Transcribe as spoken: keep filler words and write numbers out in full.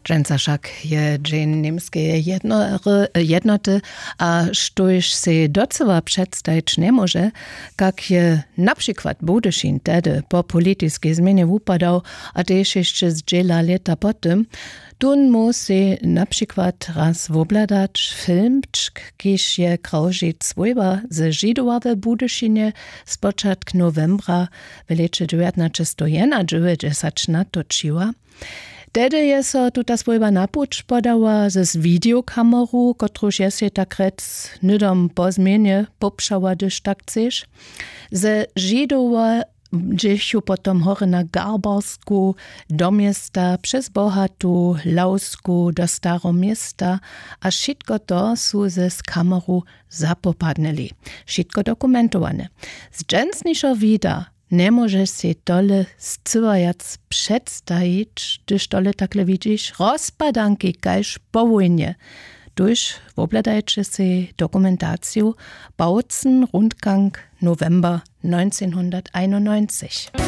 Dźensa wšak je dźeń němskeje jednoty, a štóž sej docyła předstajić njemóže, kak je na přikład budyšin tehdy po politiskej změnje wupadał, a tež hišće zdźěla lěta po tym, tón móhł sej na přikład raz wobhladać filmčk, kiž je krawžic swójba ze židowa w budyšinje spočatk nowembra w lěće dźewjatnaćestowjedenadźewjećdźesat natočiła. Tehdy je so tuta swójba na puć podała z wideokameru, kotruž je sej tak rjec hnydom po změnje popšała, hdyž tak chceš. Ze židowa dźěchu potom hory na garbarsku, do města, přez bohatu lawsku do staroměsta, a wšitko to su ze z kameru zapopadnyli. Wšitko dokumentowane. Z dźensnišeho wida njemóžeš sej tole scyła wjac předstajić, hdyž tole takle widźiš, rozpadanki kaž po wójnje. Tuž wobhladajće sej dokumentaciju Bautzen Rundgang November njeńcehnhunderteinunneunzich.